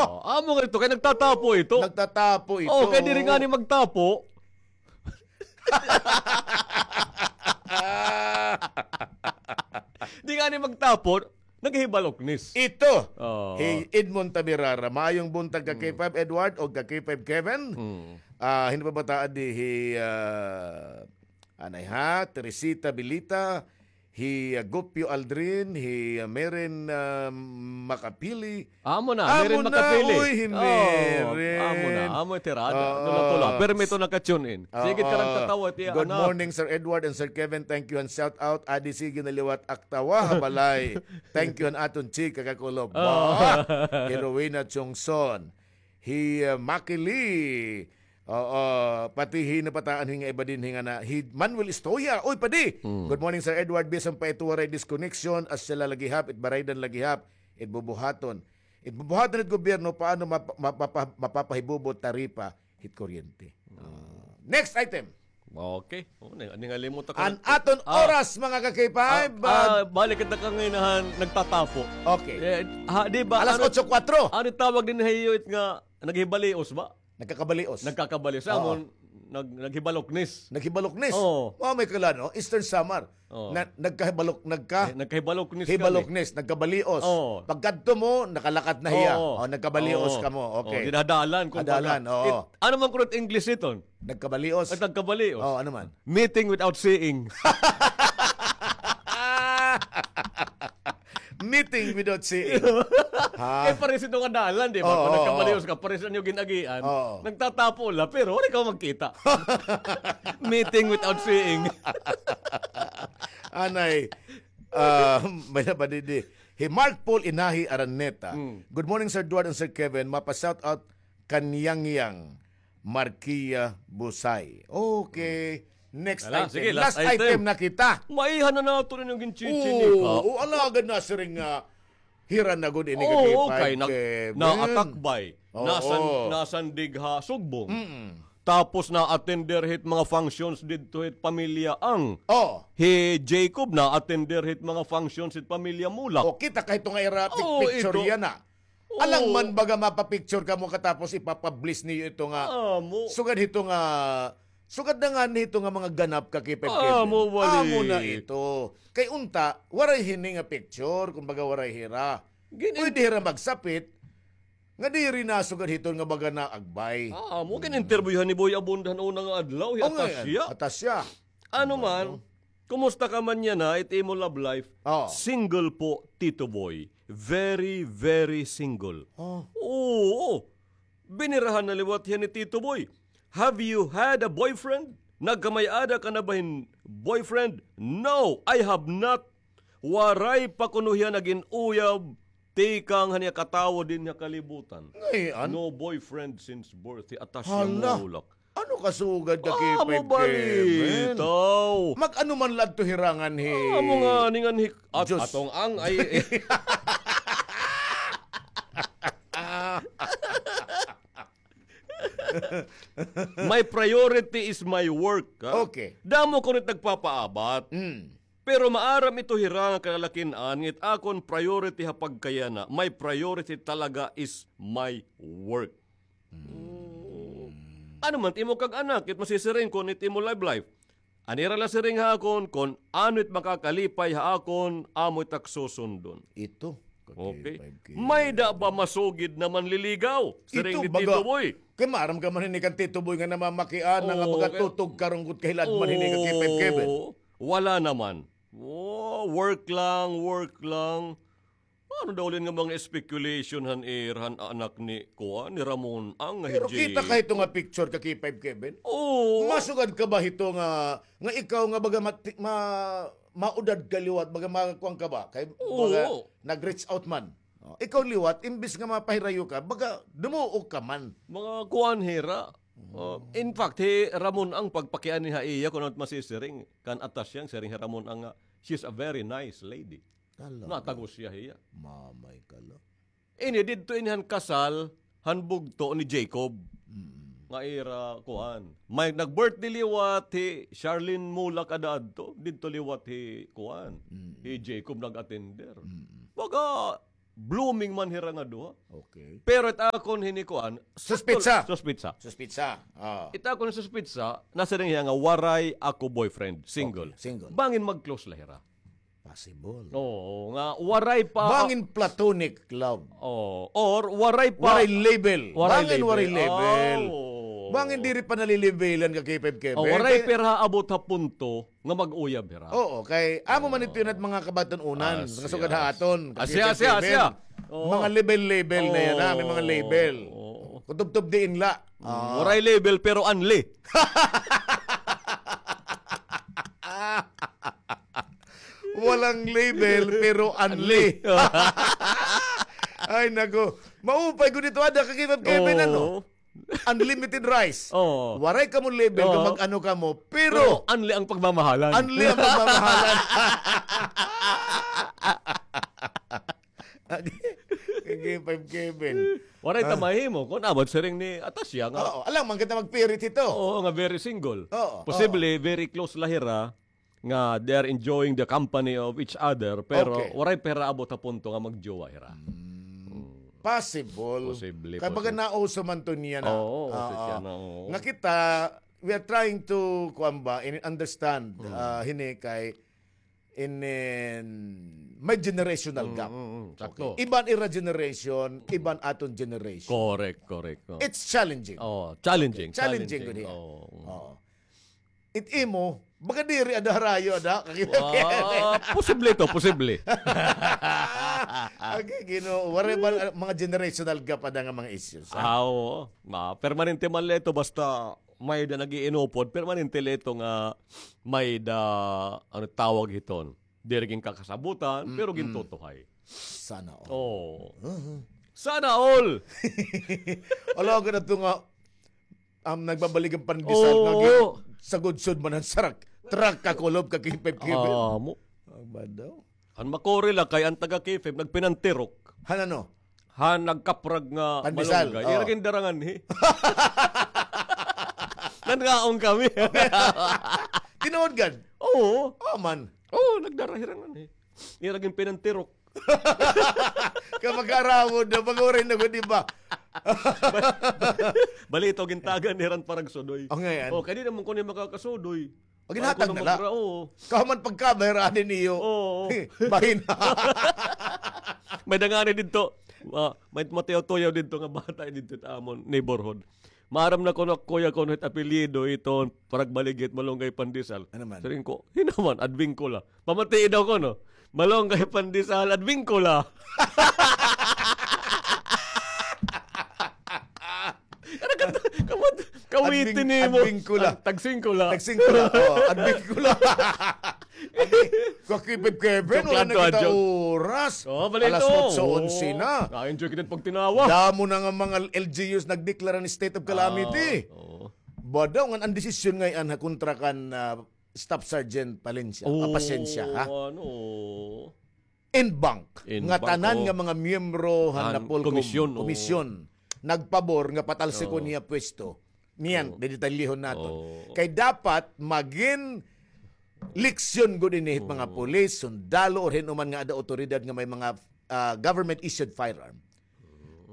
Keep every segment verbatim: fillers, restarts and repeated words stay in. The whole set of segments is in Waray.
Oh, amo nga ito, kay nagtatapo ito. Nagtatapo ito. Oh, kay diri ngani magtapo. Di ngani magtapo, naghibaloknis. Ito, oh, hi Edmond Tabirara. Maayong buntag ka K five Edward o ka K five Kevin. Mm. Ah, hin-o pa ba ta adi, hi, ah, anay ha, Teresita Bilita, hi, ah, Gopio Aldrin, hi, ah, Meren, ah, Makapili. Amo na, Meren Makapili. Uy, hi Meren. Amo na, amo tirada. Tula-tula. Permi ito naka-tune in. Sige ka lang tatawa, tiya. Good morning, Sir Edward and Sir Kevin. Thank you and shout out. Adi sige na liwat aktawa ha balay. Thank you an aton chika kakulob. Hi Rowena Chongson. Hi, ah, Maki Lee. Oo, pati hi napataan hi nga iba dinhi nga na, hi Manuel Estoya. Uy, padi! Good morning, Sir Edward. Bisan pa ito waray disconnection, asya la la gihap, it baraydan la gihap, it bubuhaton. It bubuhaton it gobyerno, paano map-, map-, mapa-, mapapahibubo taripa hit kuryente. Ah, next item. Okay. Oh, ni, ningalimot ako. An aton oras, mga ka-K five, ah, balik kita kanginahan, nagtatapo. Okay. Eh, ha, di ba, alas otso kwatro. Ano tawag dinhi ha iyo it nga naghibalios ba? Nagkakabalios. Nagkakabalios. Oo. Amon, nag-, naghibaloknis. Naghibaloknis? Oo. Mao may kala, no? Eastern Samar. Oo. Na, nagkahibalok-, nagka-, eh, nagkahibaloknis kami. Hibaloknis, nagkabalios. Oo. Pagkadto mo, nakalakat na hiya. Oo. Oh, nagkabalios kamo. Okay. Oh, ginadalan, kumbaga. Adalan, oo. Ano man kuno it English iton? Nagkabalios. At nagkabalios. Oh, ano man? Meeting without seeing. Meeting without seeing. Ha? Eh, pares ito nga dalan, di ba? Oo, oo. Kung nagkabalios ka, pares an iyo gin-agian. Oo. Nagtatapo la, pero wala ka magkita. Meeting without seeing. Anay, ah, may napadidi. Hi Mark Paul Inahi Araneta. Mm. Good morning, Sir Eduardo and Sir Kevin. Mapa-shout out kan Yang Yang Marquia Busay. Okay. Next item. Sige, last item na kita. Maiha na naton inyong ginchichinika. Oo, alagad na siring nga hira na gud ini ka K five Kevin. Naatakbay. Oo. Nasan-, nasandig ha Sugbong. Mm-mm. Tapos na-attender hit mga functions didto hit pamilya Ang. Oh. Hi Jacob na-attender hit mga functions hit pamilya Mulak. Oh, kita ka hito nga ira picture yana. Alang man baga mapa-picture kamo katapos ipapublish niyo ito nga. Amo. Sugad hito nga, sugad na nga hito nga mga ganap ka K five Kevin. Amo, wali. Amo na ito. Kay unta, waray hini nga picture, kumbaga waray hira. Pwede hira magsapit, nga diri na sugad hiton nga baga naagbay. Amo, gin-interviewhan ni Boy Abunda han una nga adlaw, hi Atasya. Atasya. Ano man, kumusta ka man yana, it imo love life? Oh. Single po, Tito Boy. Very, very single. Oh. Oo. Binirahan na liwat hiya ni Tito Boy. Have you had a boyfriend? Nagkamay-ada ka na ba hin boyfriend? No, I have not. Waray pa kuno hiya nagin uyab tikang han iya katawo dinhi ha kalibutan. Ngay-an? No boyfriend since birth. Hi Atasya Mulak. Ano kasugad ka K five Kevin? Amo balitaw. Mag-ano man la adto hira nganhi. Amo ngani nganhi. At atong Ang ay. My priority is my work, ha? Okay. Damo kuno it nagpapaabat. Mm. Pero maaram ito hira nga kalalakin-an, nga it akon priority ha pagkayana, my priority talaga is my work. Mm. Ano man it imo kag-anak, it masisiring kon it imo love life. An ira la siring ha akon, kon ano it makakalipay ha akon, amo it ak susundon. Ito. Okay. May-ada ba masugid na manliligaw? Siring ni Tito Boy. Kay maaram ka man hini kan Tito Boy nga namamakiana nga baga tutog karunggot kahilad man hini ka K five Kevin. Oo, wala naman. Oh, work lang, work lang. Ano daw lin nga mga speculation han ira han anak ni kuan, ni Ramon Ang nga. Pero kita ka hito nga picture ka K five Kevin? Oo. Masugad ka ba hito nga, nga ikaw nga baga mati-, ma-, maudad ka liwat, baga makuan ka ba? Kay baga nag-reach out man. Oh, ikaw liwat, imbis nga mapahirayo ka, baga dumuok ka man. Mga kuan hira. Oh, in fact, hi Ramon Ang pagpakiana ha iya, kon ano it masisiring, kan Atasya, siring hi Ramon Ang nga, she's a very nice lady. Natagos hiya hiya. Mamay kala. Ini didto ini han kasal han bugto ni Jacob. Mm. Nga ira kuan. May nag-birthday liwat hi Charlene Mulak ada adto. Didto liwat hi kuan. Mm. Hi Jacob nag-attender. Mm. Baga blooming man hira nga duha. Okay. Pero it akon hini kuan, suspitsa. Suspitsa. Suspitsa. Ah. It akon suspitsa, nasiring hiya nga waray ako boyfriend, single. Okay, single. Bangin mag-close la hira. Possible. Oo, nga waray pa. Bangin platonic love. Oo, or waray pa. Waray label. Bangin waray label. Bangin diri pa nalilabelan ka K five Kevin. Waray pa hira abot ha punto nga mag-uyab hira. Oo, kay amo man ito yun at mga kabaton-unan, nga sugad ha aton. Asya, asya, asya. Mga label-label na yan, ha? May mga label. Kutubtub diin la. Waray label, pero unli. Walang label, pero unli. Ay, nako. Maupay ko dito, ada ka K five Kevin, ano? Unlimited rice. Oo. Waray kamo label kung mag-ano kamo, pero unli ang pagmamahalan. Unli ang pagmamahalan. Kay K five Kevin. Waray ta mahimo kun abot siring ni Atasya nga. Oo, alang man kita magpirit hito. Oo, nga very single. Oo, posible, very close la hira nga they are enjoying the company of each other, pero waray pa hira abot ha punto nga magjowa hira. Possible. Posible. Kay baga nauso man to niya na. Oo, uso siya na, oo. Nga kita, we are trying to, kuwan ba, in-, understand, ah, hini kay, in, in, may generational gap. Sakto. Okay. Iban ira generation, iban aton generation. Correct, correct. It's challenging. Oh, challenging. Challenging gud hiya. Oo. It imo, baga diri ada harayo ada. Posible to, posible. Okay, Ginoo, waray ba mga generational gap ada nga mga issues, ha? Ah, oo. Ma, permanente man la ito, basta may-ada nag-iinupod, permanente la ito nga may-ada, ano tawag hiton? Diri ginkakasabutan, pero gintutuhay. Sana all. Oo. Sana all! Ala, gud ato nga, um, nagbabalig an pandesal nga gin-, sa gudsod man an sarak. Truck ka kulob ka K five Kevin. Amo. Aba daw. An makuri la kay an taga K five nagpinantirok. Han ano? Han nagkaprag nga pandesal, malunggay. Ira gindara nganhi. Nangaon kami. Tinuod gad? Oo. Oo man. Oo, nagdara hira nganhi. Ira ginpinantirok. Kay makaarawod na, pag-uray na gud, di ba? Bali ito, gintagan ni Ran paragsudoy. Ang ngayon? Oh, kay di naman kuno makakasudoy. Pag ginhatag na la. Oo. Kahuman pagkabay ra din iyo. Oo. Bahin. May dangani didto. Ah, may matuyaw-tuyaw didto nga bata didto sa amon neighborhood. Maaram na kuno, kuya, kuno it apelyido iton paragbalig hit malunggay pandesal. Ano man? Siring ko, hinaman, Advincula. Pamatii daw kuno. Malunggay pandesal, Advincula. Kamat-, kawitin nimo. Advin-, Advincula. Tag-, tagsingkula. Tagsingkula. Oh, Advincula. Kakipit Kevin, wala na kita oras. Oh, bali ito. Alas otso, onse na. Na-enjoy kita pagtinawa. Damo na nga mga L G Us nagdeklara ni state of calamity. Ah, oo. Ba daw nga an desisyon ngay-an ha kontra kan, ah, Staff Sergeant Palencia, ah, Pasensya, ha? Ano? Inbank, nga tanan nga mga miyembro han NAPOLCOM komisyon, komisyon, nagpabor nga patalsikon niya pwesto. Niyan, dedetalihon naton. Kay dapat magin leksyon gud ini hit mga pulis, sundalo, or hin-o man nga ada awtoridad nga may mga, ah, government-issued firearm.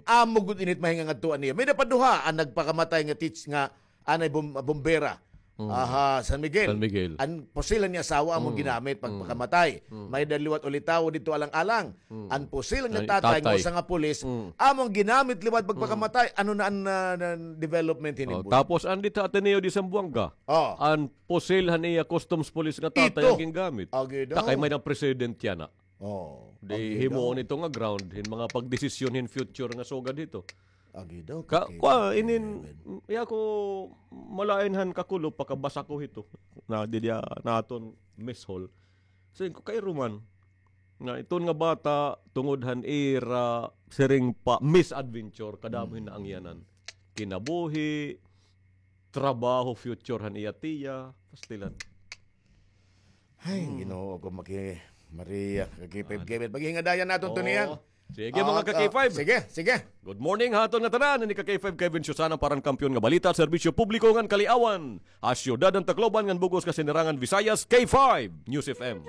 Amo gud ini it mahingangadtuan niya. May napaduha an nagpakamatay nga teach-, nga anay bom-, bombera. Aha, San Miguel. San Miguel. An pusil han iya asawa amo ginamit pagpakamatay. May-ada liwat ulitawo didto alang-alang. An pusil han iya tatay nga usa nga pulis, amo an ginamit liwat pagpakamatay. Ano na an, ah, na development hini, boy? Tapos an didto ha Ateneo de Zamboanga. Oh. An pusil han iya customs police nga tatay an gingamit. Agi daw. Takay may-ada president yana. Oh, di himuon ito nga ground hin mga pagdesisyon hin future nga sugad hito. Agi daw, ka-, kwa, inin, iya ko malain han kakulop, pakabasa ko hito. Na, didi, ah, naton mess hall. Siring ko, kairo man. Nga iton nga bata, tungod han ira, siring pa, misadventure, kadamo hin naangyanan. Kinabuhi, trabaho, future han iya tiya, pastilan. Ay, Ginoo ko, Maki Maria, ka K five Kevin. Paghingadayan naton to niyan. Sige, mga ka K five. Sige, sige. Good morning ha aton ngatanan. Ini ka K five Kevin Susana para han Kampiyon nga Balita, Serbisyo Publiko ngan Kaliawan. Ha siyudad han Tacloban ngan bug-os nga sinirangan Visayas, K five News F M.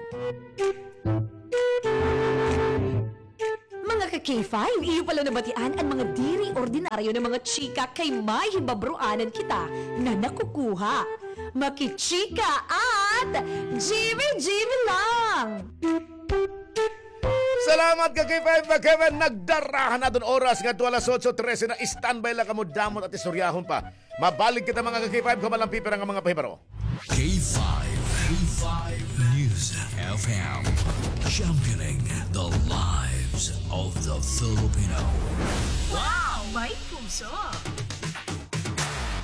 Mga ka K five, iyo pala nabatian an mga diri ordinaryo nga mga chika kay may hibabroanan kita nga nakukuha. Makichika at G B G B lang! Salamat ka K five, Kevin. Nagdara han aton oras ngadto alas otso trese na. Standby la kamo, damo it at istoryahon pa. Mabalik kita, mga ka K five, kon waray pipira nga mga pahibaro. K five, K five News F M, championing the lives of the Filipino. Wow! May puso!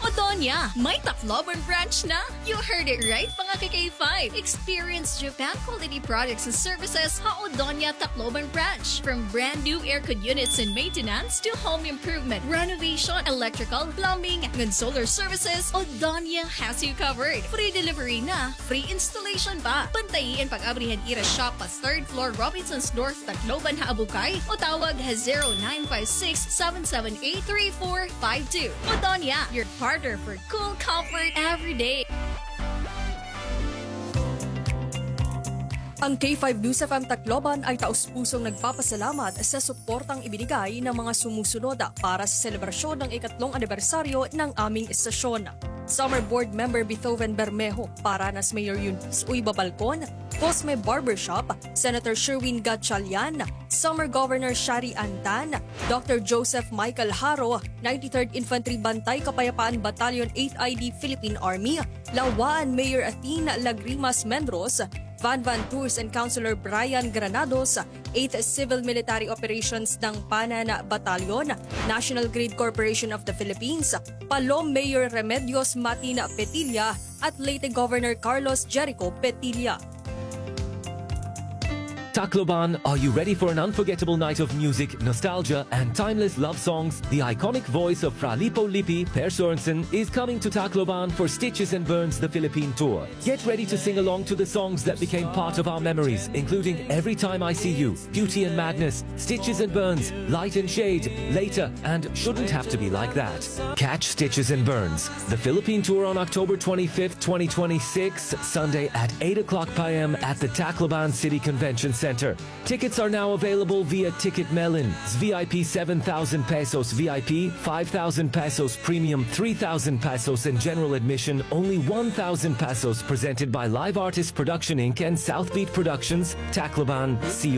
Odonia, may Tacloban branch na! You heard it right, mga ka K five! Experience Japan quality products and services ha Odonia Tacloban branch. From brand new aircon units and maintenance to home improvement, renovation, electrical, plumbing, and solar services, Odonia has you covered. Free delivery na, free installation pa. Bantayi an pag-abri han ira shop pa third floor, Robinsons North, Tacloban ha Abucay, o tawag ha zero nine five six, seven seven eight, three four five two. Odonia, your partner for cool comfort every day. Ang K five News F M Tacloban ay taus-pusong nagpapasalamat sa suportang ibinigay ng mga sumusunod para sa selebrasyon ng ikatlong anibersaryo ng aming estasyon. Summer Board Member Beethoven Bermejo, Paranas Mayor Eunice Uy Babalcon, Cosme Barbershop, Senator Sherwin Gatchalian, Summer Governor Shari Antan, Doctor Joseph Michael Haro, ninety-third Infantry Bantay Kapayapaan Battalion, eighth I D Philippine Army, Lawaan Mayor Athene Lagrimas Menros, Van Van Tours and Councilor Brian Granados, eighth Civil Military Operations Dangpanan Battalion, National Grid Corporation of the Philippines, Palo Mayor Remedios Matin Petilla, at Leyte Governor Carlos Jericho Petilla. Tacloban, are you ready for an unforgettable night of music, nostalgia, and timeless love songs? The iconic voice of Fra Lippo Lippi, Per Sorensen, is coming to Tacloban for Stitches and Burns, the Philippine tour. Get ready to sing along to the songs that became part of our memories, including Every Time I See You, Beauty and Madness, Stitches and Burns, Light and Shade, Later, and Shouldn't Have to Be Like That. Catch Stitches and Burns, the Philippine tour, on October twenty-fifth, twenty twenty-six, Sunday at eight o'clock p m at the Tacloban City Convention Center. Tickets are now available via Ticket Melon. V I P seven thousand pesos, V I P five thousand pesos, Premium three thousand pesos, and general admission only one thousand pesos. Presented by Live Artist Production Inc and South Beat Productions, Tacloban. See you